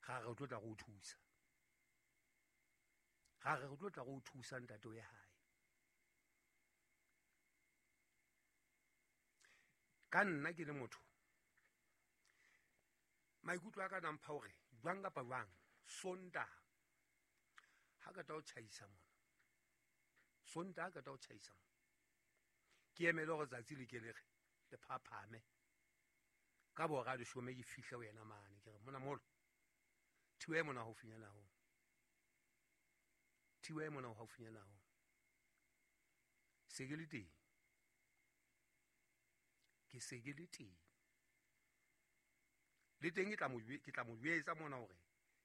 Ga re tlo tla go thusa. Ga re tlo tla go thusa ntate o ye hae. Ka nna ke le motho maikutlo a ka nampha hore jwang kapa jwang Sontaha ha ka tla o tjhaisa mona, Sontaha ka tla o tjhaisa mona, ke emele hore tsatsi le ke le re le phaphame ka bora leshome ke fihle ho yena mane, ke re mona molo thiwa e mona haufinyana ho, thiwa e mona haufinyana ho, se ke le teng, ke se ke le teng le teng, ke tla mo jwetsa mona hore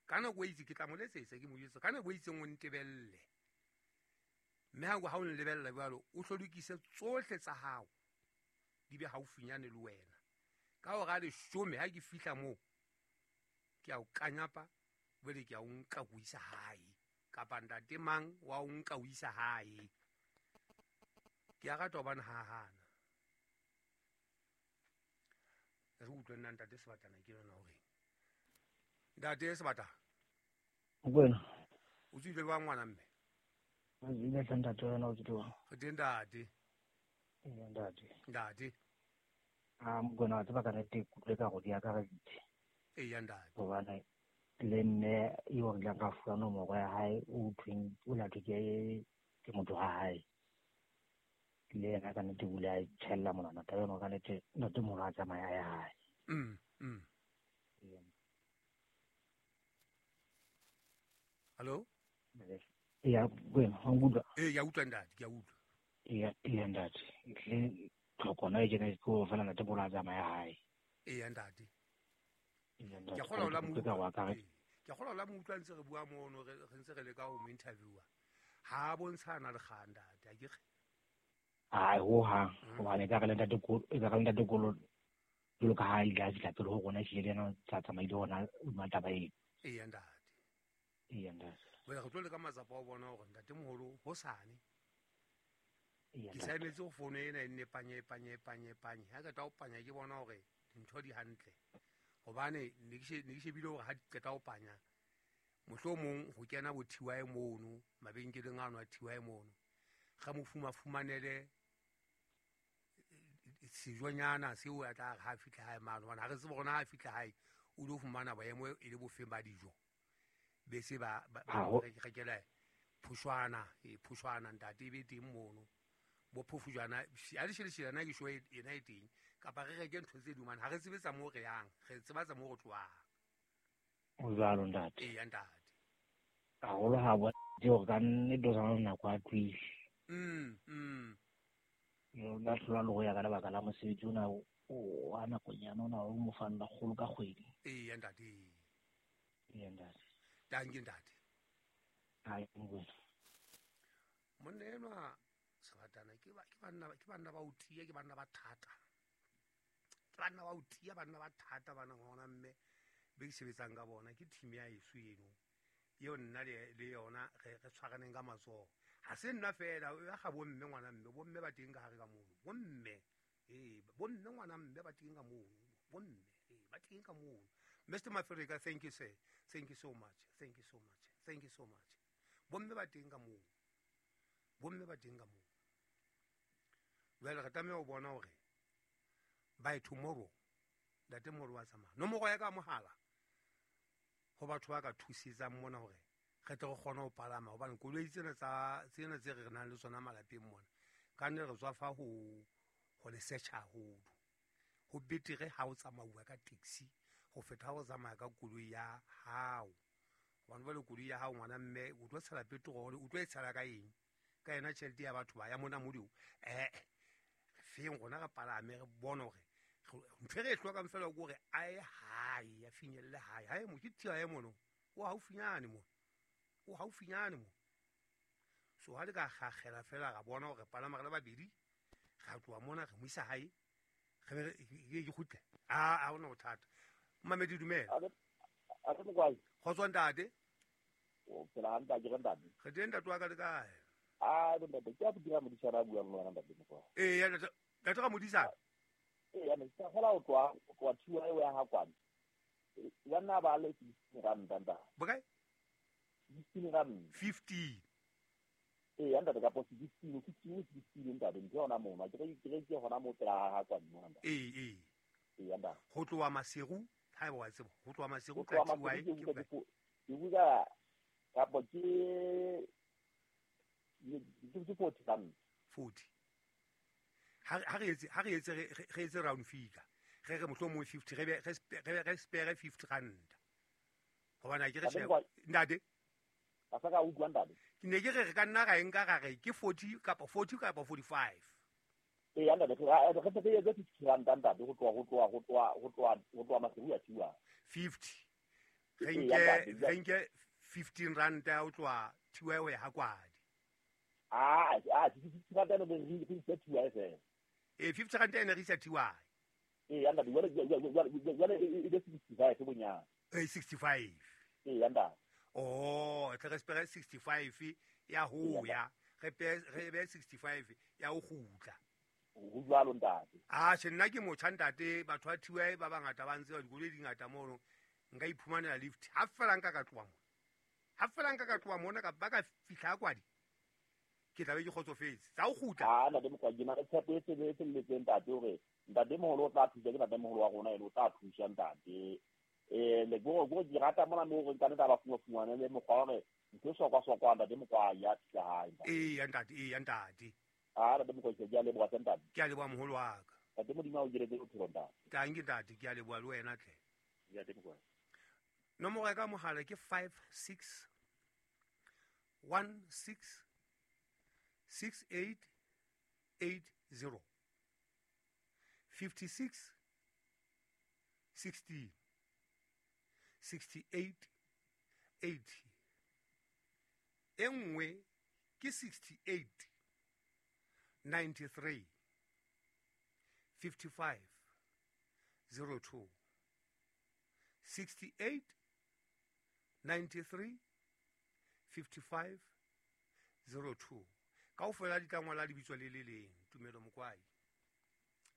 ka nako e itse ke tla mo letsetsa, ke mo jwetsa ka nako e itseng o ntebelle, mme ha o nlebella jwalo o hlolokise tsohle tsa hao di be haufinyane le wena. Ka hora leshome ha ke fihla moo ke a o kanyapa, jwale ke a o nka ko isa hae, kapa ntate mang wa o nka o isa hae. Ke a rata hobane ha hana re utlwe nna ntate Sebatana ke yona hore ntate Sebatana Mokwena o tswile jwang ngwana mme? Ile tla ntate wena o tswile jwang? Re teng ntate. Ee ntate. Ntate. A Mokwena wa tseba ka nnete ke utlwe ka go di akareditse. Ee ntate. Hobane le mme eo re ileng ra fuwa nomoro ya hae o thweng o lathwe ke motho wa hae. Le yena ka nnete o ile a itjhella monwana taba eno ka nnete ntate moholo a tsamaya a ya hae. Hello? Ya wena wa nkutlwa? Ee, ke a utlwa ntate, ke a utlwa. Ee ntate. Le tlhokona e kena ke go fela ntate moholo a tsamaya hae. Ee ntate. Ee ntate. Ke kgolwa o la mo Ke ka go akaretsa. Ke kgolwa o la mo utlwa ntse re bua mono, re ntse re leka ho mo interviewer. Ha a bontshana le kgang ntate, a ke re? Ai ho hang, hobane ka re le ntate Kolo, e ka re le ntate Kolo jwalo ka ha ile a fihla pele ho rona, ehlile le yena o tla tsamaile hona hodima taba eo. Ee ntate. Ee ntate. Jwale re tlo leka matsapa a ho bona hore ntate moholo hosane Ee, ke ntate. sa emetse ho fono ena e nne panye, panye, panye, panye. Ha ke tla ho panya ke bona hore dintho di hantle. Hobane ne ke ne ke shebile hore ha di qeta ho panya, mohlomong ho kena bo TY mono, mabenkeleng ano a TY mono, ga mo fumafumanele sejonyana seo a tla re ha fihla hae mane, hobane ha re tsebe hore na ha fihla hae o lo fumana boemo e le bofeng ba dijo. Be se ba rekela phushwana, phushwana ntate e be teng mono. Bo phofujwana, ha le shele shele na ke shoe ena e teng, kapa re reke ntho tse ding mane, ha re tsebe tsa moo re yang, re tseba tsa moo re tlohang. O jwalo ntate. Ee, ntate. Haholo ha bona hore ka nnete o sa nako a tlohile. Ba hlola le ho ya ka lebaka la mosebetsi ona wa nakonyana ona o mo fang lekgolo ka kgwedi. Ee, ntate. Ee, ntate. Danke ntate. Hai, Mokwena. Monna enwa Sebatana ke banna ba o tiya, ke banna ba thata. Ke banna ba o tiya, banna ba thata bana ngwana mme be ke sebetsang ka bona ke team ya heso eno. Eo nna le yona re tshwaraneng ka matsoho. Ha se nna fela, ya ga bomme ngwana mme, bomme ba teng ka hare ka mono. Bomme, bomme ngwana mme ba teng ka mono. Bomme, ba teng ka mono. Mr. Mafrika, thank you sir. Thank you so much. Thank you so much. Thank you so much. Bomme ba teng ka mono. Bomme ba teng ka mono. Jwale re tlameha ho bona hore by tomorrow ntate moholo wa tsamaya. Nomoro ya ka mohala ho batho ba ka thusetsang mona hore re tle re kgone ho palama, hobane koloi tsena tsa tsena tse re nang le tsona malapeng mona ka nne re tswa fa ho le search haholo. Ho betere ha o tsamauwa ka taxi ho feta ha o tsamaya ka koloi ya hao. Hobane jwale koloi ya hao ngwana mme o tlo tshela petrol, o tlo e tshela ka eng? Ka yona tjhelete ya batho ba ya mona modimo. Feng rona re palame re bone hore ntho e re e hlokang fela ke hore a ye hae, a finyelle hae. Hae mo ke thiba e mono, o haufinyane mo, o haufinyane mo. So ha le ka kgakgela fela ra bona hore palama re le babedi, ra tloha mona re mo isa hae, re ke kgutle. A hona bothata. Mmamedi dumela. A re mokwai. Kgotso ntate. O phela hantle a ke re ntate. Re teng ntate wa ka le kae? A ntate ke a dira modisana a buang le wena ntate mokwai. Ee, ya ntate, ntate ga modisana. Ee, ya ne ke fela o tloha thiwa eo ya ha kwana. Ya nna ba le 16 ranta ntate. Bokae? 16 ranta. 15. Ee, ntate ka po 16 15 16 ntate ntho yona mona ke re ke hona mo pela ha kwa mona ntate. Ee. Ee ntate. Ho tloha Maseru ha eba wa tseba ho tloha Maseru ka TY ke buka kapo ke 40 rand. 40. Ha re etse round figure. Re re mohlomong 50 re spare 50 rand. Hobane ke re sheba ntate. Ka sa ka utlwa ntate. Ke ne ke re ka nna ra enka ra re ke 40 kapa 40 kapa 45. Ee ntate re etse 50 rand ntate ho tloha Maseru ya TY. 50. Re nke 15 rand ya ho tloha TY ho ya ha Kwadi. Ah 50 rand ene re isa TY fela. Ee 50 rand ene re isa TY. Ee ntate jwale e be 65 bonyane. Ee 65. Ee ntate. Oh, tle re spare 65 ya ho ya re be 65 ya ho kgutla. Ho jwalo ntate. Ah, tjhe nna ke motjha ntate, batho ba TY ba bangata ba ntse ba dikoloi di ngata mono. Nka iphumanela lift ha fela nka ka tloha mona. Ha fela nka ka tloha mona ka ba ka fihla Kwadi. Ke tla be ke kgotsofetse. Tsa ho kgutla. Ah, ntate Mokwadi ke na le tshepo e felletseng ntate hore ntate moholo o tla thusa, ke ntate moholo wa rona ene o tla thusa ntate. Le go ke rata mona mo re nka ba fumana le mokgwa hore ntho sokwa ntate Mokwadi ya fihla hae. Ee ntate. Ah, ntate Mokwadi ke a leboha ntate. Ke a leboha moholo wa ka. Ntate Modimo a o diretse bophelo ntate. Tanki ntate, ke a leboha le wena tle. Ntate Mokwadi. Nomoro ya ka mohala ke 56 16 68 80. 56 16 68 80. E nngwe ke 68 93 55 02. 68 93 55 02. Kaofela di tla ngola lebitso le le leng, Tumelo Mokwai.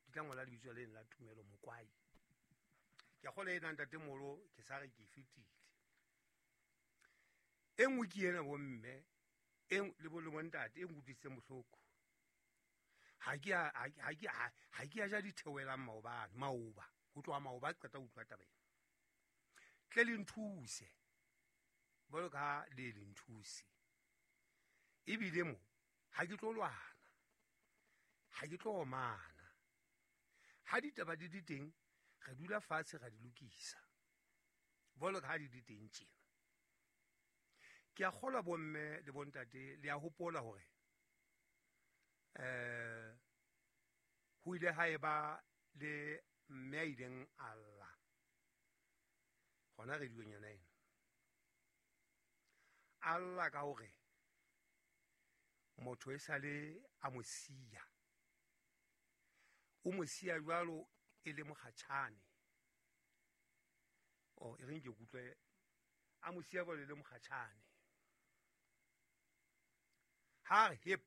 Di tla ngola lebitso le leng la Tumelo Mokwai. Ke a kgolwa ena ntate Molo ke sa re ke fetile. E nngwe ke ena bomme, e le bo le bontate e nkutlwisitseng bohloko. Ha ke a ja ditheohelang maobane, maoba, ho tloha maoba ke qeta ho utlwa taba ena. Tle le nthuse. Jwalo ka le le nthuse. Ebile mo ha ke tlo lwana, ha ke tlo omana. Ha ditaba di di teng, re dula fatshe ra di lokisa. Jwalo ka ha di di teng tjena. Ke a kgolwa bomme le bontate le a hopola hore ho ile ha eba le mme a ileng a lla hona radiong yona ena. A lla ka hore motho e sale a mo siya. O mo siya jwalo e le mokgatjhane. Oh, e reng ke kutlwe a mo siya jwalo e le mokgatjhane. Ha re hep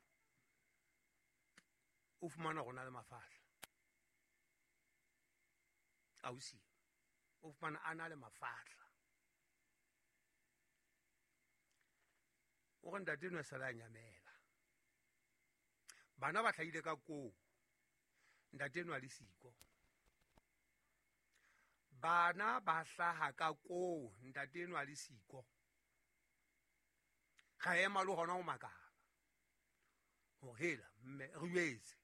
o fumana rona le mafahla. Ausi o fumana a na le mafahla. O re ntate no sala nyamela. Bana ba hlahile ka koo. Ntate no a le siko. Bana ba hlaha ka koo, ntate no a le siko. Ga ema le hona ho makala. Hore hela mme re jwetse.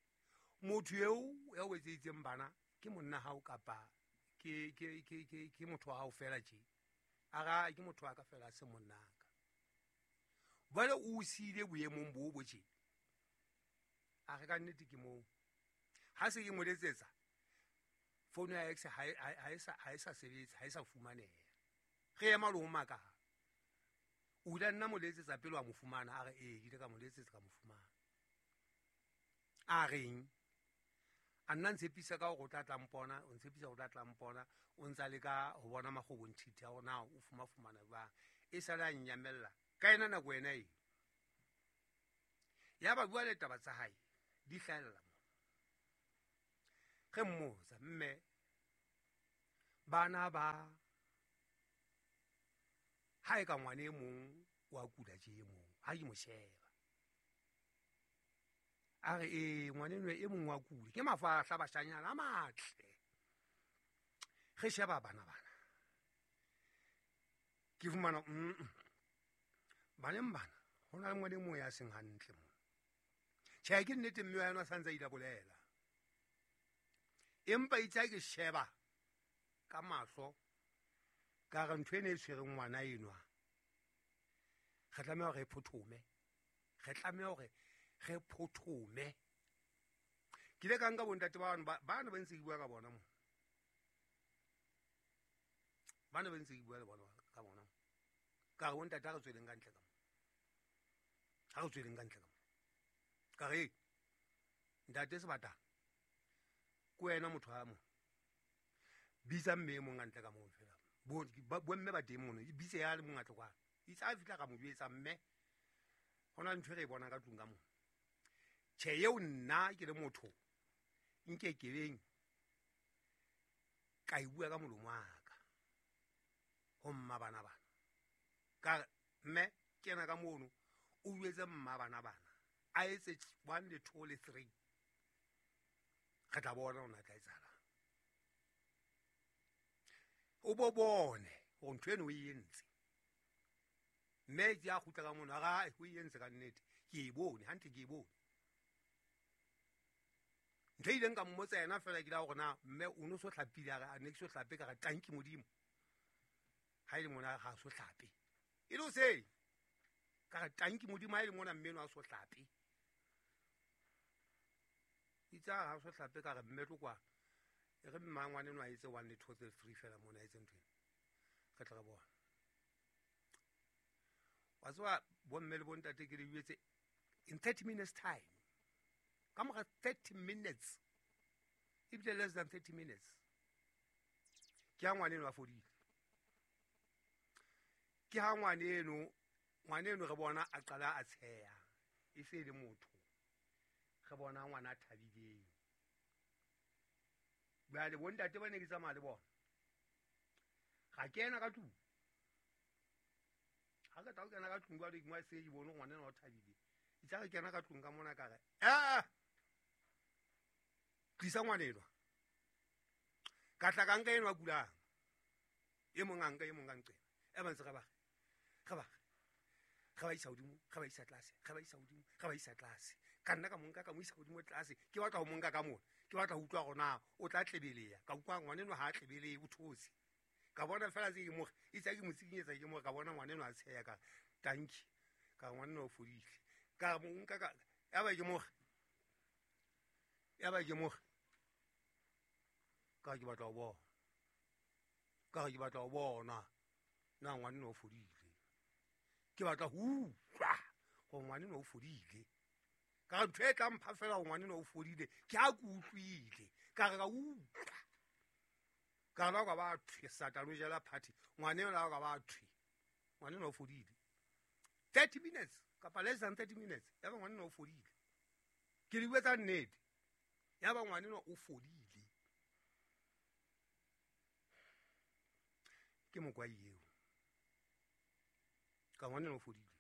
Motho eo ya o etseditseng bana ke monna hao kapa ke motho wa hao fela tje. Ara ke motho wa ka fela se monna ka. Jwale o siile boemong bo bo tje. A re ka nnete ke moo. Ha se ke mo letsetsa founu ya ex ha e sa sebetse, ha e sa fumaneha. Re ema le ho makala. O ile nna mo letsetsa pele wa mo fumana, a re ee ke ile ka mo letsetsa ka mo fumana. A reng a nna ntshepisa ka hore o tla tla mpona, o ntshepisa hore o tla tla mpona, o ntsa leka ho bona makgobong thiti a hore na o fumana jwang. E sale a nnyamella ka ena nako ena e. Ya ba bua le taba tsa hae di hlahella mo. Re mmotsa mme bana ba Ha e ka ngwane e mong wa kula tje e mong ha ke mo sheba a re e ngwane enwa e mong wa kula ke mafahla bashanyana a matle re sheba bana bana ke fumana baneng bana ho na le ngwane e mong ya seng hantle mo. Tjhe ke nnete mme wa yona sa ntse a ile bolela empa itse ha ke sheba ka mahlo ka re ntho ena e tshwereng ngwana enwa re tlameha hore re phothome, re tlameha hore re phothome. Ke ile ka nka bontate ba bana ba ntse ke bua ka bona mo, bana ba ntse ke bua le bona ka bona ka re bontate ha re tsweleng ka ntle ka mo, ha re tsweleng ka ntle ka mo. Ka re ntate Sebatana ke wena motho a mo bitsa mme e mong ka ntle ka moo fela bomme ba teng mono e bitse ya le mong a tle kwana itse a fihla ka mo jwetsa mme ho na le ntho e re e bonang ka tlung ka mona. Tjhe eo nna ke le motho nke kebeng ka e bua ka molomo wa ka ho mma bana bana. Ka re mme kena ka mono o jwetse mma bana bana a etse 1 le 2 le 3 re tla bona hore na tla etsahalang. O bo bone hore ntho eno o e entse. Mme ke a kgutla ka mono a re o e entse ka nnete ke e bone hantle ke e bone. Ntho e ileng ka mmotsa yena fela ke la hore na mme o no so hlapile a re a ne ke so hlape ka re tanki modimo ha e le mona ha so hlape e le hoseng ka re tanki modimo ha e le mona mme no a so hlape itse ha so hlape ka re mme tlo kwa e re mma ngwane no a etse 1 le 2 3 3 fela mona a etse ntho ena re tla re bona. Wa tseba bomme le bontate ke le jwetse in 30 minutes time ka mora 30 minutes ebile less than 30 minutes ke ha ngwane eno a fodile. Ke ha ngwane eno re bona a qala a tsheha e se le motho re bona ngwana a thabileng. Jwale bontate ba ne ke tsamaya le bona ga kena ka tlung ha ke tla kena ka tlung jwale ke mo se ke bone ngwana eno o thabile itse re kena ka tlung ka mona ka re tlisa ngwana enwa ka tla ka nka enwa kulang e mong a nka e mong ka nqena e ba ntse re ba re ba isa hodimo re ba isa tlase re ba isa hodimo re ba isa tlase ka nna ka monka ka mo isa hodimo tlase ke batla ho monka ka mona ke batla ho utlwa hore na o tla tlebeleya ka utlwa ngwana enwa ha a tlebeleye o thotse ka bona fela tse ke more itse ke mo tsikinyetsa ke more ka bona ngwana enwa a tsheya ka tanki ka ngwana enwa o fodile ka monka ka ya ba ke more ya ba ke more ka ke batla ho bona ka ke batla ho bona na ngwana enwa o fodile ke batla ho utlwa hore ngwana enwa o fodile ka ntho e tla mpha fela hore ngwana enwa o fodile ke ha ke utlwile ka re ka utlwa ka la ka ba thwe satane o jela party ngwana enwa ka ba thwe ngwana enwa o fodile 30 minutes kapa less than 30 minutes ya ba ngwana enwa o fodile ke di bua tsa nnete ya ba ngwana enwa o fodile ke mokwai eo ka ngwana enwa o fodile.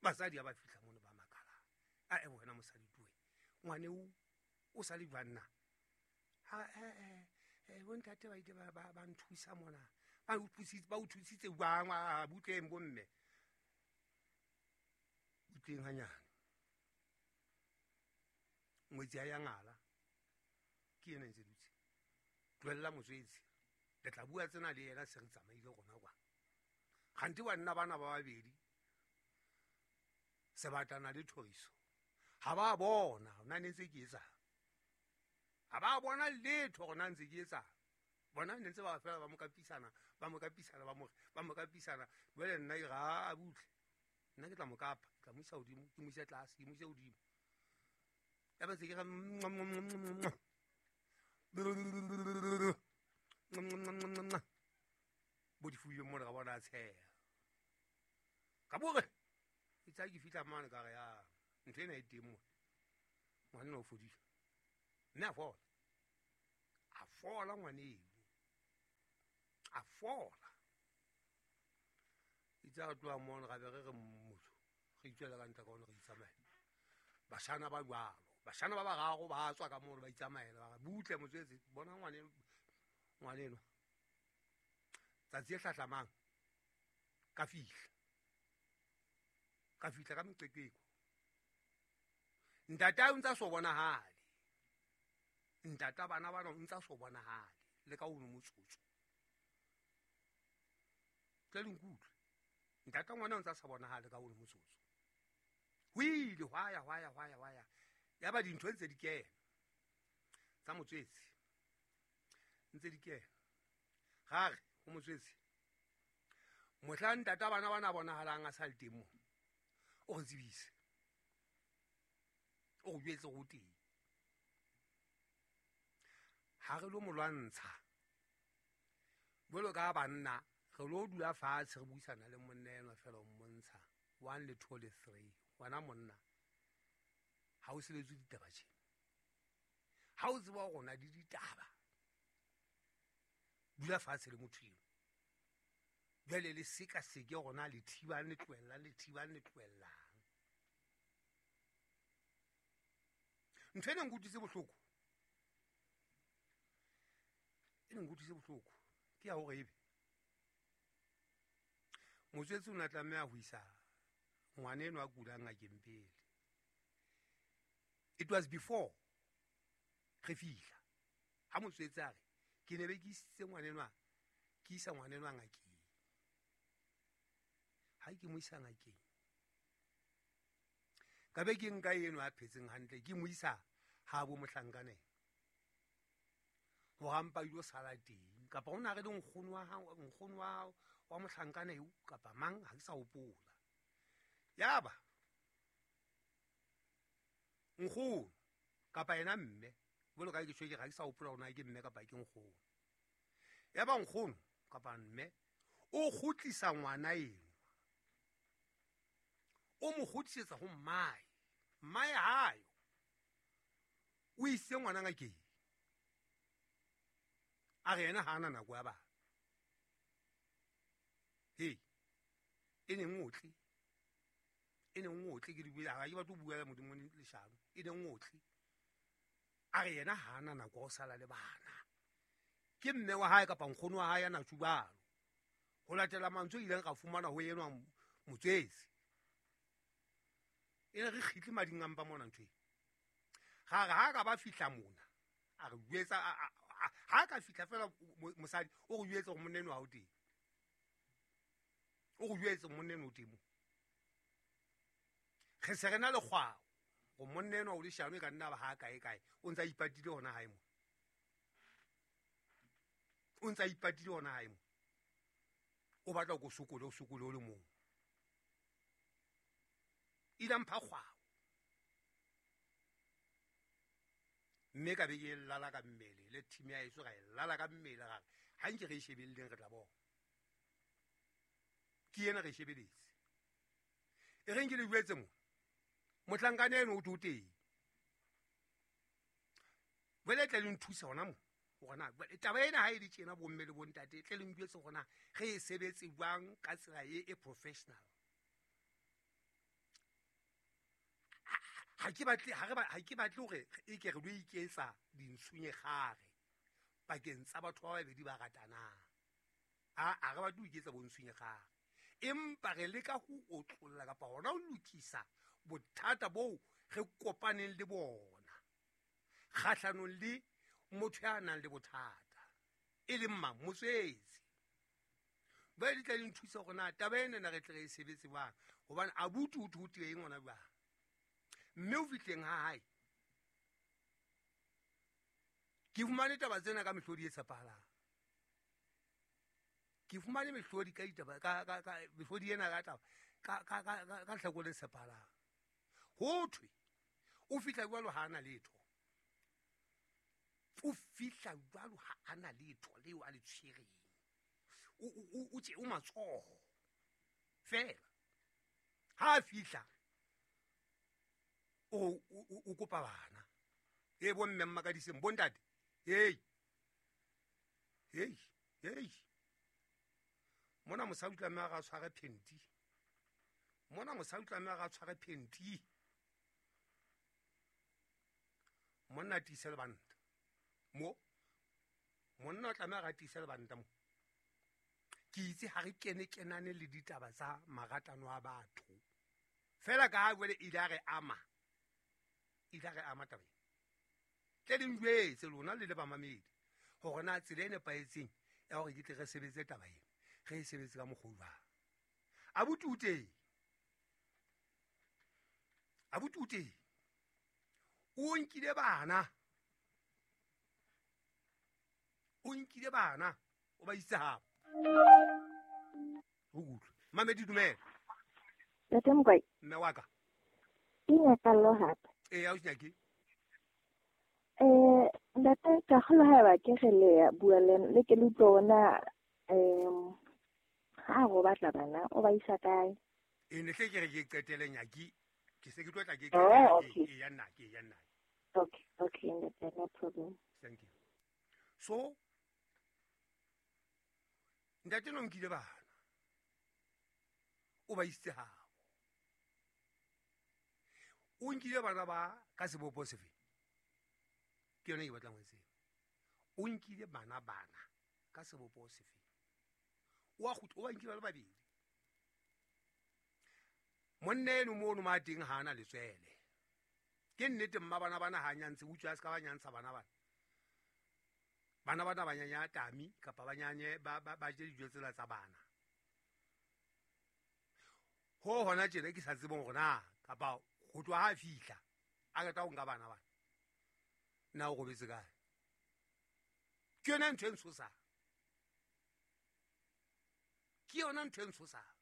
Basadi ha ba fihla mono ba makala a e wena mosadi tuwe ngwane o sa le jwang na ha bontate ba ile ba nthusa mona ba o thusitse jwang a butleng bomme butleng hanyane ngwetsi ya ngala ke yena ntse dutse tlohella motswetsi le tla bua tsena le yena se re tsamaile rona kwa kgante banna bana ba babedi Sebatana le Thoriso ha ba bona nna ne ntse ke etsang ha ba bona letho hore na ntse ke etsang bona ne ntse ba fela ba mo kapisana ba mo kapisana ba mo kapisana jwale nna ke ra a butle nna ke tla mo kapa ke tla mo isa hodimo ke mo ise tlase ke mo ise hodimo ya ba ntse ke re bo difuyo mona ka bona a tsheha ka bore itse ha ke fihla mane ka re ya ntho ena e teng mona ngwana o fodile mme a fola ngwane eo a fola. Itse re tloha mono ra be re re motho re itswela ka ntle ka ono re itsamaela. Bashana ba jwalo, bashana ba bararo ba tswa ka mono ba itsamaela, ba re butle motswetse, bona ngwaneno. Tsatsi e hlahlamang ka fihla. Ka fihla ka meqeqeko. Ntatae o ntsa so bonahale. Ntata bana bana o ntsa so bonahale le ka ono motsotso. Tle le nkutlwe. Ntata ngwana o ntsa sa bonahale ka ono motsotso. Ho ile hwa ya hwa ya hwa ya hwa ya. Ya ba dintho ntse di kena. Tsa motswetse. Ntse di kena. Gare ho motswetse. Mohla ntata bana bana bonahalang a sa le teng mo. O re tsebise. O re jwetse ho teng. Ha re lo mo lwantsha. Jwalo ka banna re lo dula fatshe re buisana le monna enwa fela o mmontsha 1 le 2 le 3. Wena monna ha o sebetse ditaba tje. Ha o tseba hore o na le ditaba, dula fatshe le motho eo. Jwale le sekaseke hore na le thibang le tlohellang, le thibang le tlohellang. Ntho e neng nkutlwise bohloko, e neng nkutlwise bohloko ke ya hore ebe motswetse o ne a tlameha ho isa ngwana enwa a kulang ngakeng pele. It was before re fihla. Ha motswetse a re ke ne be ke isitse ngwanenwa, ke isa ngwanenwa ngakeng. Ha ke mo isa ngakeng, ka be ke nka eno a phetseng hantle, ke mo isa ha bo mohlankaneng hore a mpa ilo sala teng, kapa o na re le nkgono wa hao, nkgono wa mohlankana eo kapa mang, ha ke sa hopola. Yaba nkgono kapa yena mme, jwalo ka ke tjho ke re ha ke sa hopola hore na ke mme kapa ke nkgono. Yaba nkgono kapa mme o kgutlisa ngwana eno, o mo kgutlisetsa ho mmae. Mmae hayo o isitse ngwana ngakeng, a re yena ha ana nako ya bana. Hei, e neng otle, e neng otle ke di bua, ha ke batle ho bua Modimo leshano, e neng otle. A re yena ha ana nako ya ho sala le bana. Ke mme wa hae kapa nkgono wa hae ya na tjho jwalo. Ho latela mantswe ileng ra fumana ho enwa motswetse. E ne re kgitle mading a mpa mona ntho e. Ga re ha ka ba fihla mona, a re jwetsa, ha ka fihla fela mosadi o re jwetse hore monna enwa ha o teng. O re jwetse monna enwa o teng mo. Re se re na le kgwao hore monna enwa o leshano e ka nna ba ha kae kae, o ntsa ipatile hona hae mo. O ntsa ipatile hona hae mo. O batla go sokole, o sokole o le mong. Ile mpha kgwao. Mme ka be ke lala ka mmele, le team ya heso ra e lala ka mmele, ra re ha nke re e shebelleng re tla bona. Ke ena re e shebeletse. E reng ke le jwetse mo, mohlankana eno o tlo teng. Jwale tle le nthusa hona mo, hore na jwale taba ena ha e le tjena bomme le bontate, tle le njwetse hore na re e sebetse jwang ka tsela e professional. Ha ke batle, ha re ba, ha ke batle hore e ke re lo iketsa dintshunyegare pakeng tsa batho ba babedi ba ratanang. A re batle ho iketsa bontshunyegare, empa re leka ho otlolla kapa hona ho lokisa bothata boo re kopaneng le bona kgahlanong le motho ya nang le bothata, e leng mang? Motswetse. Ba di tla di nthusa hore na taba ena na re tle re e sebetse jwang, hobane abuti o thotile eng hona jwang. Mme o fihleng ha hae, ke fumane taba tsena ka mehlodi e tshepahalang. Ke fumane mehlodi ka ditaba, ka, ka, ka, mehlodi ena ka taba, ka, ka, ka, ka, ka hlako le tshepahalang. Ho thwe, o fihla jwalo ha ana letho. O fihla jwalo ha ana letho leo a le tshwereng. O tje, o matsoho fela. Ha a fihla, o kopa bana. E bo mme mmakadiseng, bo ntate. Hei. Hei, hei. Mona mosadi o tlameha a tshware phenti. Mona mosadi o tlameha a tshware phenti. Monna tiise lebanta. Mo monna o tlameha a tiise lebanta mo. Ke itse ha re kene kenane le ditaba tsa maratano a batho. Fela ka ha jwale ile a re ama. Ile a re ama taba ena. Tle le njwetse lona le le bamamedi hore na tsela e nepahetseng ya hore ke tle re sebetse taba ena. Re e sebetse ka mokgwa o jwang. Abuti o teng. Abuti o teng. O nkile bana. O nkile bana. O ba isitse habo. O utlwe. Mamedi dumela. Ntate Mokwai. Mme wa ka. Ke nyakallo hape. Ee, ausi Nyaki. Ntate ka kgolwa haeba ke re le bua le le ke le utlwe ona ha go batla bana o ba isa kae? E ne hle ke re ke qetele Nyaki. Ke se ke tlo tla ke Oh, okay. e ya nna ke ya nna. Okay, okay, ntate, no problem. Thank you. So ntate no nkile bana. O ba isitse habo. O nkile bana ba ka sebopo sefe? Ke yona e ke batlang ho e tseba. O nkile bana ka sebopo sefe? O a kgutla, o ba nkile ba le babedi. Monna eno mono ma teng ha ana letswele. Ke nnete mma bana bana ha nyantse, utswa a se ka ba nyantsha bana bana. Bana bana ba nyanya tami kapa ba nyanye ba je dijo tsela tsa bana. Ho hona tjena ke sa tsebeng hore na kapa ho tloha ha fihla a qeta ho nka bana bana. Na o robetse kae? Ke yona ntho e ntshosang. Ke yona ntho e ntshosang.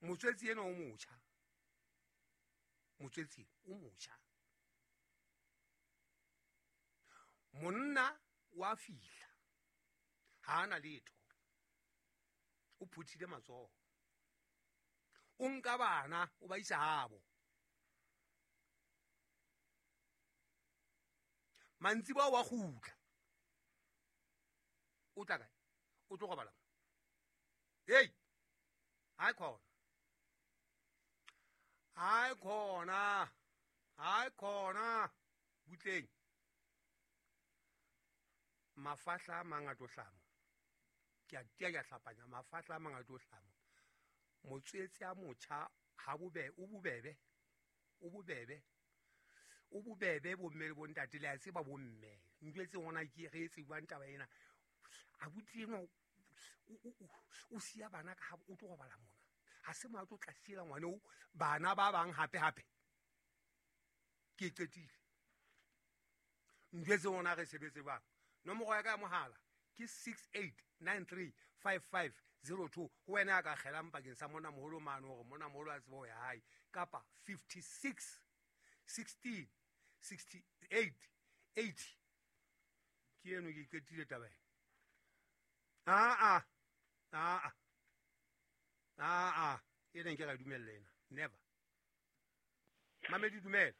Motswetsi enwa o motjha. Motswetsi o motjha. Monna wa fihla. Ha ana letho. O phuthile matsoho. O nka bana o ba isa habo. Mantsiboya wa kgutla. O tla kae? O tlo robala mo. Hey! Hae khona. Hae khona. Hae khona. Butleng. Mafahla a mangata o hlamo. Ke a tia ke a hlapanya mafahla a mangata o hlamo. Motswetsi a motjha ha bobe o bobebe. O bobebe. O bobebe bomme le bontate le a tseba bomme. Njwetse hona ke re tsebang taba ena. Abuti enwa o siya bana ka ha o tlo robala mona. Ha se mo a tlo tla siela ngwana o bana ba bang hape hape. Ke qetile. Njwetse hona re sebetse bang. Nomoro ya ka ya mohala ke 68935502. Ho wena a ka kgelang pakeng sa monna moholo mane hore monna moholo a tsebe ho ya hae kapa 56 16 68 80. Ke eno ke qetile taba ena. Aa ena nke ra dumella ena. Never. Mamedi dumela.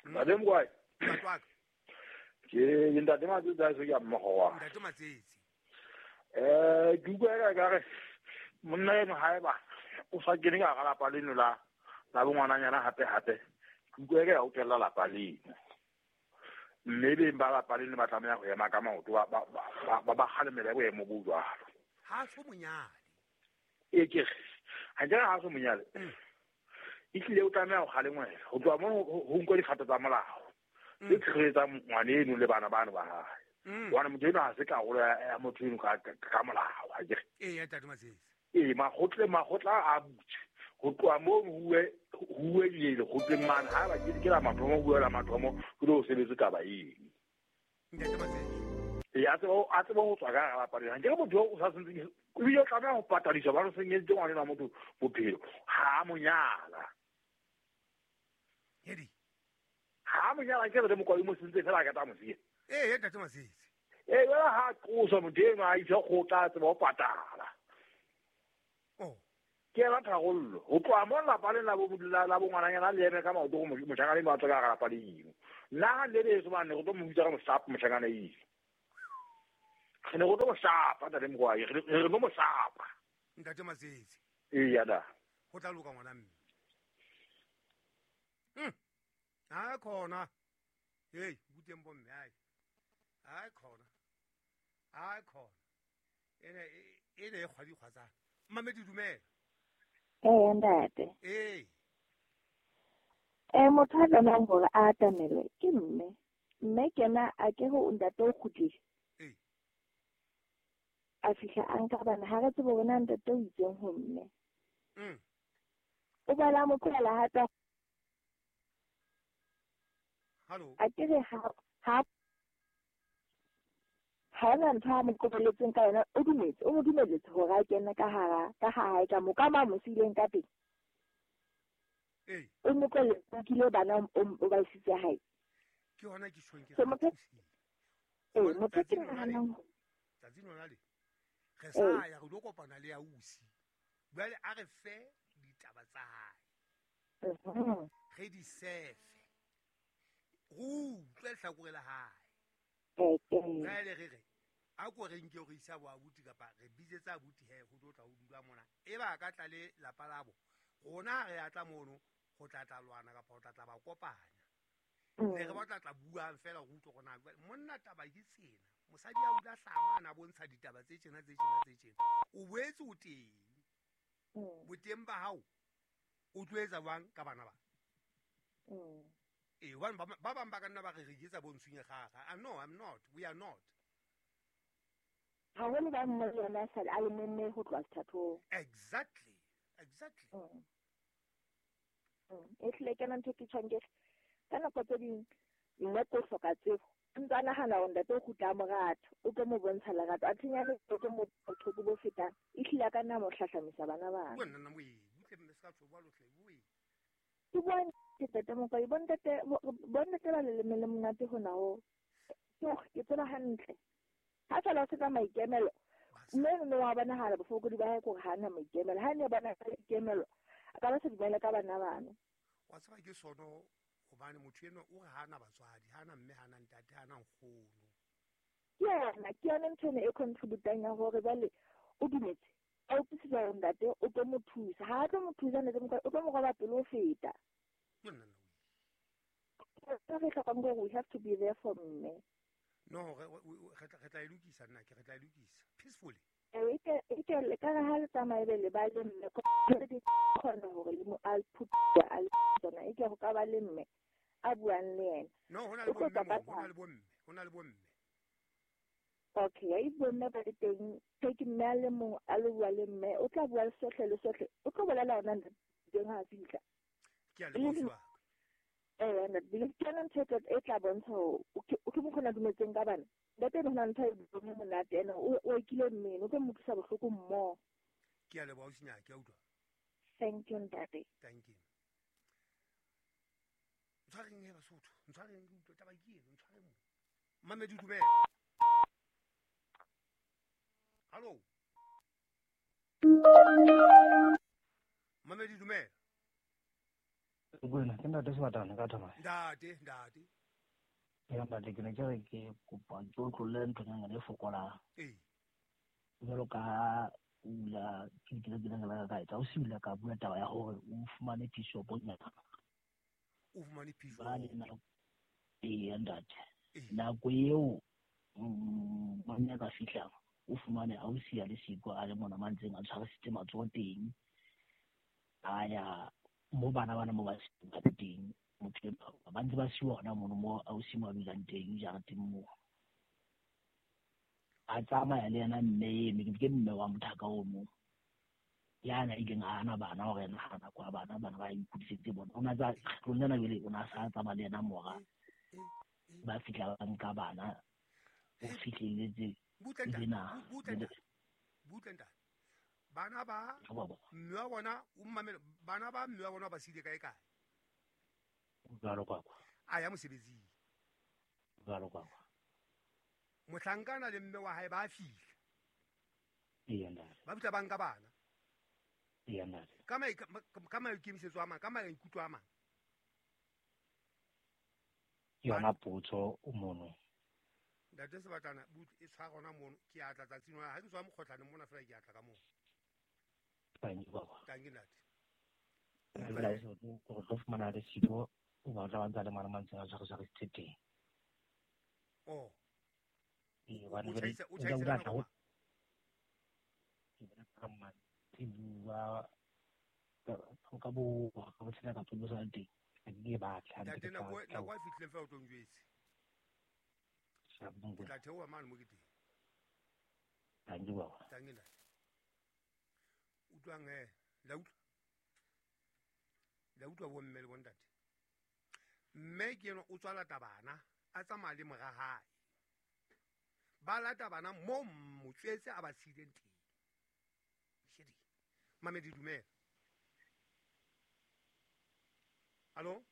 Ntate Mokwai. Ntate wa ka. Ke ntate Matsetsi a se ke a mmogo wa. Ntate Matsetsi. Ke utlwa ka re monna eno haeba o sa kene ka hara lapa leno la bongwananyana hape hape. Ke utlwa ka ya o tella lapa leno. Mme beng ba lapa leno ba tlameha ho ema ka maoto ba kgalemele boemo bo jwalo. Ha so monyane. E ke ha ke ha so monyane. Ehlile o tlameha ho kgalengwela. Ho tloha mono ho nkwe dikgato tsa molao. Tse tshireletsang ngwana eno le bana bano ba hae. Hobane motho eno ha se karolo ya motho eno ka molao, ha ke re. Ee, ntate Matsetsi. Ee, makgotla a butse. Ho tloha moo ho uwe lekgotleng mane. Haeba ke la mathomo, ho uwe la mathomo, ho tlo sebetse taba eno. Ntate Matsetsi. Ee, a tsebe ho tswa ka hara lapa lena. Nkere motho o sa sentseng, ebile o tlameha ho patadiswa hobane o senyeditse ngwana enwa motho bophelo. Ha a mo nyala. Hedi. Ha mo nyala ke re Mokwai mo sentse fela a ka tla mo siya. Ee, ntate Matsetsi. Ee, jwale ha a qoswa motho enwa a iswa kgotla a tseba ho patala. Oh. Ke yona tharollo. Ho tloha moo lapa lena la bongwananyana le eme ka maoto hore moshanyana enwa a tswe ka hara lapa leno. Nna ha nne le heso mane re tlo mo bitsa ka mohlapo moshanyana eno. Re ne re tlo mo shapa ntate Mokwai, re tlo mo shapa. Ntate Matsetse. Eya da. Ho tla loka ngwana mme. Ha khona. Hey, buteng bo mme ai. Ha khona. Ha khona. Ene e kgwadi kgwatsana. Mmamedi dumela. Ee ntate. Ee. Motho a tlamehang hore a atamele ke mme. Mme ke yena a ke ho ntate o kgutlile. Ee. A fihla a nka bana ha re tsebe hore na ntate o itseng ho mme. O bala mo tlohela hape. Hallo. A ke re ha hona ntho a mo qobelletseng ka yona, o dumetse, o mo dumelletse hore a kene ka hara ka ha hae ka mo ka mo sileng ka teng. Ee. O mo tlohelletse kile bana o ba isitse hae. Ke hona ke tjhong ke. So motho motho ke nahanang tsatsing lona le. Re sa ya re lo kopana le ausi. Jwale a re fe ditaba tsa hae. Re di sefe. Utlwe lehlakore la hae. Jwale re re a ko re nke re isa bo abuti kapa re bitsetsa abuti he ho tlo tla ho dula mona. E ba ka tla le lapa labo. Rona re a tla mono ho tla tla lwana kapa ho tla tla ba kopanya. Ne re batla tla buang fela go utlwe gona monna taba ke tsena. Mosadi a ula hlama ana bontsha ditaba tse tjena tse tjena tse tjena. O boetse o teng. Boteng ba hao o tlo etsa jwang ka bana ba? Ee, hobane ba bang ba ka nna ba re re etsa bontshunya gaga. No, I'm not. We are not. Haholo ba mme le yona sale a le memme ho tloha sethathong. Exactly. Exactly. E hlile ke yona ntho ke tjhong ke ka nako tse ding mme ko hloka tsebo. Ntse a nahana hore ntate o kgutla a mo rata, o tlo mo bontsha lerato. A thinyane o tlo mo bohloko bo fetang. E hlile a ka nna mo hlahlamisa bana bana. Bua nna moe, butle mme se ka tlo bua lohle, bue. Ke bua ntate Mokwai, bontate ba leleme le monate hona ho. Ke tseba hantle. Ha feela o se ka maikemelo, mme no wa bonahala bofokodi ba hae kore ha ana maikemelo. Ha ne bona ka maikemelo, a ka ba sa dumele ka bana bana. Wa tseba ke sono hobane motho enwa o re ha ana batswadi, ha ana mme, ha ana ntate, ha ana nkgono. Ke yona ntho ena e contributang ya hore jwale o dumetse. A utlwisisa hore ntate o tlo mo thusa. Ha a tlo mo thusa ntate Mokwai, o tlo mo roba pelo ho feta. Re hlokang hore we have to be there for mme. No, re tla e lokisa nna ke re tla e lokisa peacefully. E ke le ka ha le tsamaye be le ba le mme ko di kgona hore le mo a phutha a tsona e ke go ka ba le mme a buang le yena. No, hona le bomme, hona le bomme, hona le bomme. Okay, if bomme ba le teng, ke mme a le mong a le bua le mme, o tla bua le sohle le sohle, o tlo bolela hona teng ha fihla. Ke a leboha. Ntate, ke yona ntho e tla bontsha hore o ke mokgona dumetseng ka bana. Ntate eno hona ntho e buang monate ena o ekile mmele, o tlo mo utlwisa bohloko mmoho. Ke a leboha ausi Nyaki, ke a utlwa. Thank you ntate. Thank you. Ntshwareng he Basotho, ntshwareng ke utlwe taba ke eno, ntshwareng mo. Mmamedi dumela. Hallo. Mmamedi dumela. Buena, ke ntate Sebatana ka thaba. Ntate, ntate. Ya ntate ke ne ke re ke kopa ke otlolle nthonyana e fokolang. Ee. Jwalo ka ula ke ke ke ka etsa o sila ka bua taba ya hore o fumane bishoponyana. O fumane bishop. Ee ntate. Nako eo monna ka fihlang o fumane ausi ya le siko a le mona mantseng a tshwarisitse matsoho teng. A ya mo bana bana mo ba teng motho ba ntse ba siwa hona mono mo ausi mo a dulang teng jareteng moo. A tsamaya le yena mme eno ke mme wa mothaka ono yana ileng a hana bana hore yena ha nako ya bana bana ba ikgodisetse bona. O na tsa kgetlong lena jwale o na sa tsamaya le yena mora ba fihla ba nka bana o fihlelletse butle ntate. Bana ba mme wa bona o mmamele bana ba mme wa bona ba sile kae kae? Jwalo kwa kwa. A ya mosebetsing. Jwalo kwa kwa. Mohlankana le mme wa hae ba fihla. Ee ntate. Ba fihla ba nka bana. Ee ntate. Ka maikemisetso a mang, ka maikutlo a mang. Yona potso o mono. Ntate Sebatana e tshwara gona mono ke a tla tsatsing ha ke tswa mokgotlane mona fela ke a tla ka moo. Thank you baba. Thank you ntate. Go tlo fumana le siko o ba tla ba ntse le mara mantse a tshware teng. Oh. E ba ne o tjhaisa ka ke bona ka mantsibuwa ka bo ka tshela ka tlo sa teng. Ke batla ntate nako a fihlileng fela o tlo njwetse. Ke tla theoha mane mo ke teng. Thank you baba. Thank you ntate. Utlwang he, la utlwa. La utlwa bo mme le bo ntate. Mme ke eno o tswa lata bana, a tsamaya le mora hae. Ba lata bana mo motswetse a ba siileng teng. Shedi. Mamedi dumela. Hallo?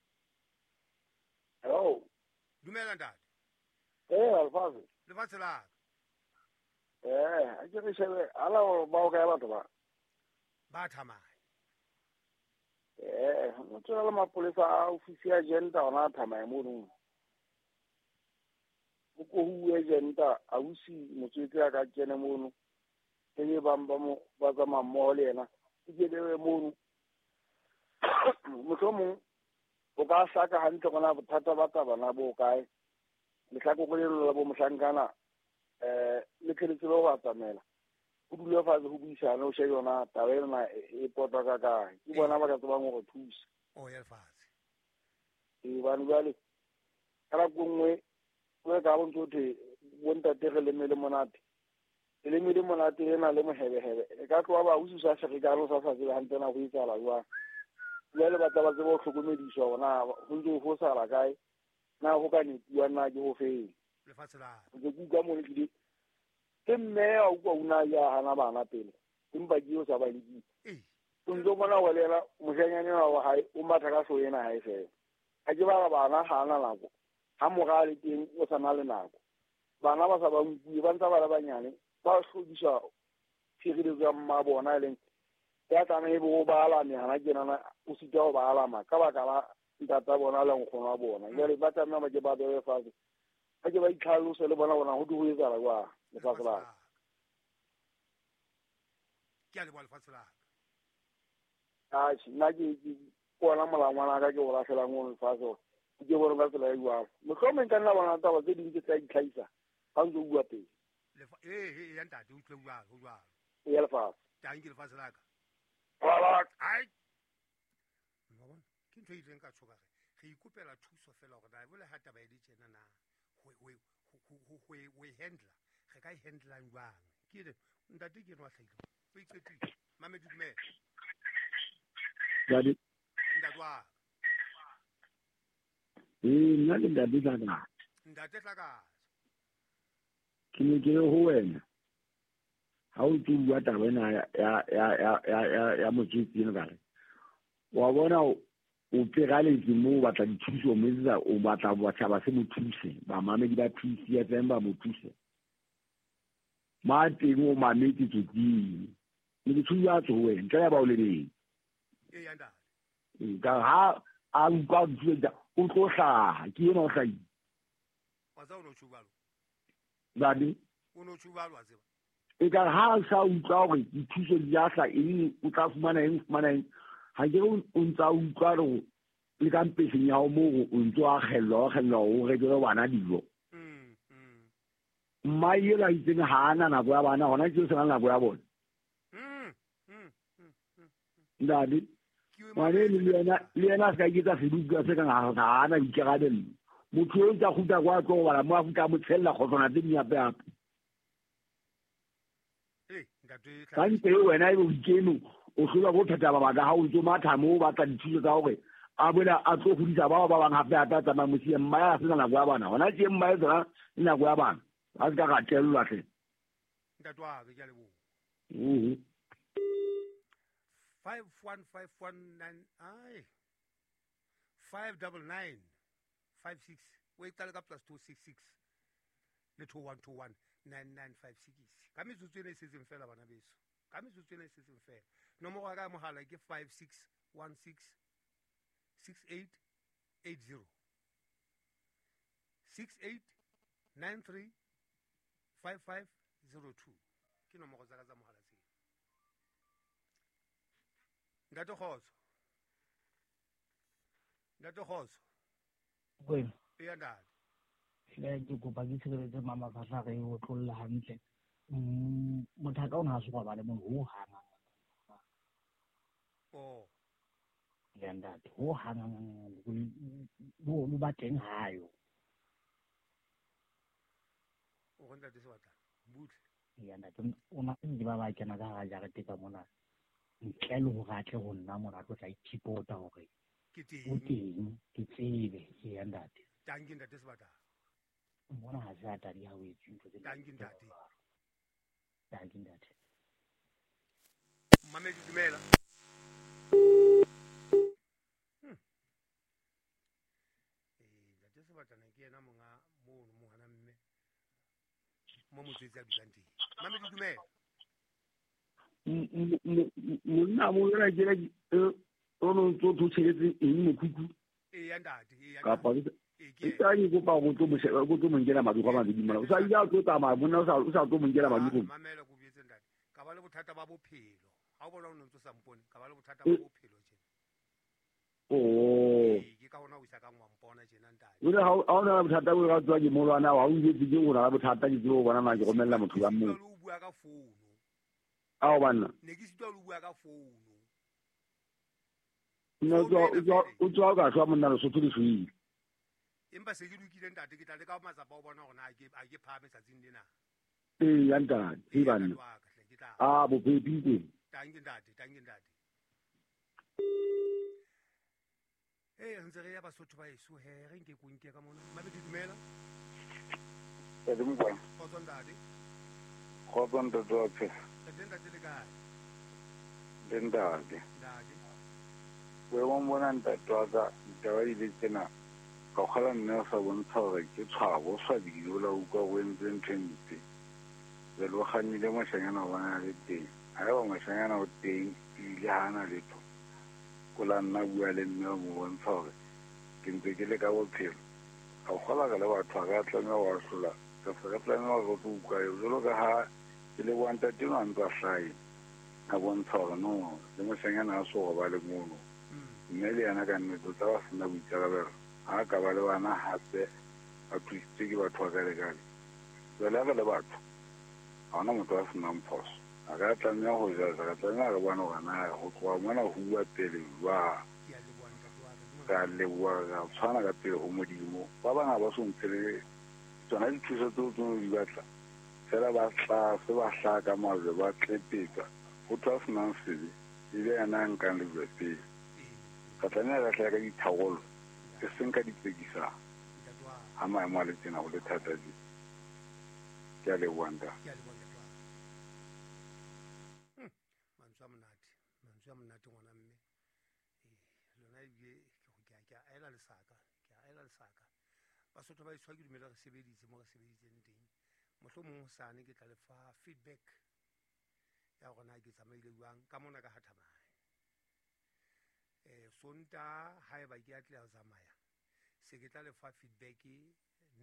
Hello. Dumela ntate. Alfazi. Lefatshe la ka. A ke re shebe ala ba o kae batho ba? Ba thamaya. Motho le mapolesa a ofisi ya gender ona thamaya mono. O ko huwe gender a usi motswetse a ka kene mono. Ke ba ba mo ba tsamaya mmoho le yena. Ke le mono. Mohlomong o ka hlaka hantle gona bothata ba taba bo kae. Lehlakore leno la bo mohlankana le tleletse ba go atamela. O dule fatshe go buisana o shebe yona taba ena e potwa ka kae. Ke bona ba ka tsebang go re thusa. O ya lefatshe. Bane jwale ka nako nngwe o ka bo ntse o thwe bo ntate re leme le monate. Leme le monate ena le mohebehebe. E ka tloha ba usi sa ferekane o sa sa tsebe hantle na go etsahala jwang. Jwale ba tla ba tsebe ho hlokomediswa hore na ho ntse ho fosala kae. Na ho ka nepuwa na ke ho feng. Lefatshe la. Ke utlwa mo le ke mme a utlwa una ya hana bana pele. Empa ke o sa ba nkile. O ntso bona wa lela moshanyane wa hae o matha ka hloho ena hae fela. Ha ke ba bana ha ana nako. Ha mora le teng o sa na le nako. Bana ba sa ba nkuwe ba ntsa ba le banyane ba hlodiswa tshireletso ya mma bona e leng ya tlameha e bo ba alame hana kenana o sitwa ho ba alama ka baka la ntata bona le nkgono wa bona. Jwale ba tlameha ba ke ba bewe fatshe. Ha ke ba itlhalose le bona bona ho di ho etsahala jwang lefatshe la ka. Ke a leboha lefatshe la ka. Atjhe, nna ke ona molangwana ka ke o lahlelang ono lefatshe hore ke bone ka tsela e jwalo. Mohlomong nka nna bona taba tse ding tse tla itlhahisa ha ntse o bua pele. Ya ntate o utlwe jwalo, ho jwalo. Ya lefatshe. Thank you lefatshe la ka. Ai. Wa bona? Ke ntho e ileng ka tshoka re ikopela thuso fela hore na bole ha taba e le tjena na ho handle re ka e handlang jwang. Ke re ntate ke no a hlahile. O iqetile. Mamedi dumela. Ntate. Ntate wa. Nna ke ntate Tlakatsa. Ntate Tlakatsa. Ke ne ke re ho wena. Ha o tlo bua taba ena ya motswetse ena ka re. Wa bona o pegaletse moo o batla dithuso mo etsetsa o batla batjhaba se mo thuse bamamedi ba PCFM ba mo thuse. Ma teng o mametse tsotsing. Ne ke thusa tso ho wena ntle ya ba o lebeng. Ya ntate. Ka ha a utlwa dithuso o tlo hlaha ke ena o hlahile. Wa tseba o no tjho jwalo. Ntate. O no tjho jwalo wa tseba. E ka ha a sa utlwa hore dithuso di a hla eng o tla fumana eng fumana eng. Ha ke o ntsa utlwa hore le ka mpeseng ya hao moo o ntso a kgellwa o rekele bana dijo. Mma ela itseng ha ana nako ya bana hona ke o sena nako ya bona. Ntate. Ngwane le yena a se ka iketsa seduka se kang ha ana boikarabello. Motho o ntsa kgutla kwa tlo go bala mo a kgutla mo tshella kgotswana tse ding hape hape. Ka ntle wena ebe o ikeme o hlolwa ko phetha mabaka ha o ntso matha moo o batla dithuso tsa hore a boela a tlo hodisa bao ba bang hape hape a tsamaya mosiya mma ya sena nako ya bana. Hona tje mma e tsena le nako ya bana. A se ka ratellwa hle. Ntate wa ka ke a leboha. 51519 ai 59956 o e qale ka +266 le 2121 9956. Ka metsotso ena e setseng fela bana beso. Ka metsotso ena e setseng fela. Nomoro ya ka ya mohala ke 5616 6880 6893 55 02 ke nomoro tsa ka tsa mohala tseo. Ntate Kgotso. Ntate Kgotso. Kwena. Eya ntate. Hle ke kopa ke tshireletse mama fahla re o tlolla hantle. Motho ka ona ha se go ba le motho ho hang. Oh. Le ntate ho hang bo ba teng hayo. O go ntate Sebatana. Butle. Ya ntate o na ke ba kena ka ga jarete ka mona. Ntle le hore a tle ho nna mona tlo tla ithipota hore ke o teng ke tsebe ya ntate. Tanki ntate Sebatana. Mona ha se a tadi ha o etse ntho tse. Tanki ntate. Tanki ntate. Mamedi dumela. Ntate Sebatana ke yena monga mono mo hana mme mo motswetsi a dulang teng. Mamedi dumela. Monna mo yona ke o no ntso tshiretse eng mokhukhu? Eya ntate, eya. Kapa ke tla ke kopa go tlo mosheba go tlo monkela madi go mabedi mona. O sa ile a tlo tsamaya monna o sa tlo monkela madi go. Mamela go buetse ntate. Ka ba le bothata ba bophelo. Ha o bona o ntso sa mpone, ka ba le bothata ba bophelo tjena. Oh. Ke ka hona o isa ka ngwa mpona tjena ntate. O le ha o na bothata bo ka tswa ke molwana wa o itse ke o na le bothata ke tseo bona na ke romella motho ka moo. O bua ka founu. Ao banna. Ne ke sitwa le bua ka founu. No o tswa ka shwa monna Lesotho le shwile. Empa se ke lokile ntate ke tla le ka matsapa o bona hore na a ke phahame tsatsing lena. Ee ya ntate, e banna. Ah bopepi teng. Tanki ntate, tanki ntate. Eh ntse re ya Basotho ba eso he re nke konke ka mona. Mamedi dumela. Ntate Mokwena. Kgotso ntate. Kgotso ntate wa phela. Ntate ntate le kae? Le ntate. Ntate. Boemong bona ntate wa ka ditaba di le tsena ka kgola mme o sa bontsha hore ke tshwabo o swabile o la utlwa o entse ntho e mpe. Jwale o kgannile moshanyana o bona le teng. Haeba moshanyana o teng ebile ha ana letho, o la nna bua le mme o mo bontsha hore ke ntse ke le ka bophelo. Ka kgola re le batho ha re a tlameha ho ahlola. Re se re tlameha hore re tlo utlwa eo. Jwalo ka ha ke leboha ntate enwa a ntse a hlahe a bontsha hore no le moshanyana ha so robale mono. Mme le yena ka nnete o tla ba sena boikarabelo. Ha ka ba le bana hape a thusitswe ke batho ba kale-kale. Jwale ha re le batho ha hona motho a senang phoso. Ha re a tlameha ho jaja, re tlameha re bone hore na ho tloha mona ho uwa pele jwang. Re a leboha, re a tshwana ka pele ho Modimo. Ba bang ha ba so ntshe le tsona dithuso tseo tseo di batla. Fela ba tlase ba hlaha ka majwe ba tlepetsa. Ho thwe a senang sebe ebe yena a nkang lejwe pele. Re tlameha re hlahe ka ditharollo e seng ka ditsekisano. Ha maemo a le tjena ho le thata tje. Ke a leboha ntate. Ke a leboha ntate wa ka. Mantswe a monate, mantswe a monate ngwana mme. Lona ebile ke a ela lesaka, ke a ela lesaka. Basotho ba etswa ke dumela re sebeditse mo re sebeditseng teng. Mohlomong hosane ke tla le fa feedback ya hore na ke tsamaile jwang ka mona ka Hathamai. Sonta haeba ke atleha ho tsamaya se ke tla le fa feedback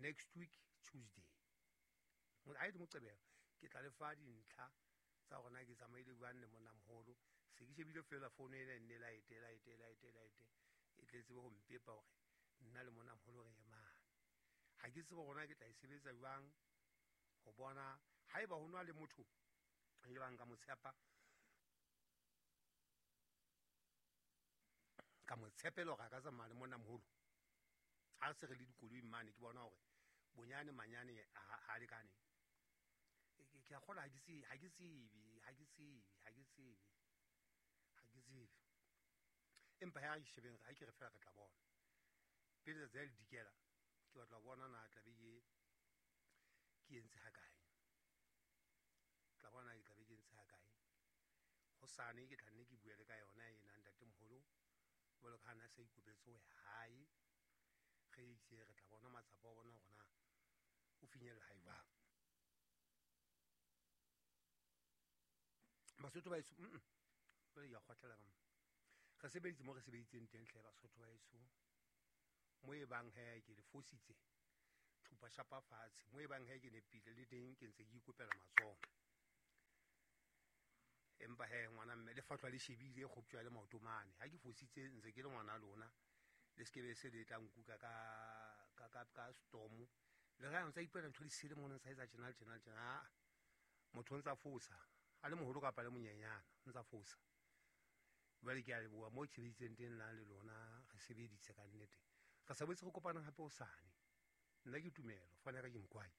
next week Tuesday. Ha e le Moqebelo ke tla le fa dintlha tsa hore na ke tsamaile jwang le monna moholo. Se ke shebile fela founu ena e nne laete e tletse ho mpepa hore nna le monna moholo re emane. Ha ke tsebe hore na ke tla e sebetsa jwang ho bona haeba ho nwa le motho e bang ka mo tshepa ka mo tshepela hore a ka tsamaya le monna moholo. Ha se re le dikoloi mane ke bona hore bonyane manyane ha lekane. Ke a kgola ha ke tsebe. Empa ha ke shebeng ha ke re fela re tla bona. Pele letsatsi ha le dikela ke batla ho bona na tla be ke entse ha kae. Tla bona ke tla be ke entse ha kae. Hosane ke tla nne ke bue le ka yona ena ntate moholo. Jwalo ka ha na sa ikopetse ho ya hae. Re itse re tla bona matsapa a bona hore na o finyella hae jwang. Basotho ba eso jwale ke a kgotlela ka mona. Re sebeditse mo re sebeditseng teng hle Basotho ba eso. Mo e bang he ke le fositse. Thupa shapa fatshe mo e bang he ke nepile le teng ke ntse ke ikopela matsoho. Empa he ngwana mme le fatlwa le shebile e kgoptjwa le maoto mane. Ha ke fositse ntse ke le ngwana lona, le se ke be se le tla nkuka ka storm. Le ga ntse ipuela ntho di sele mona ntse etsa tjena le tjena le tjena. Ah, motho o ntsa fosa, a le moholo kapa le monyenyana, o ntsa fosa. Jwale ke a leboha mo ke sebeditseng teng nna le lona, re sebeditse ka nnete. Re sa boetse re kopanang hape hosane. Nna ke Tumelo, fane ka ke Mokwai.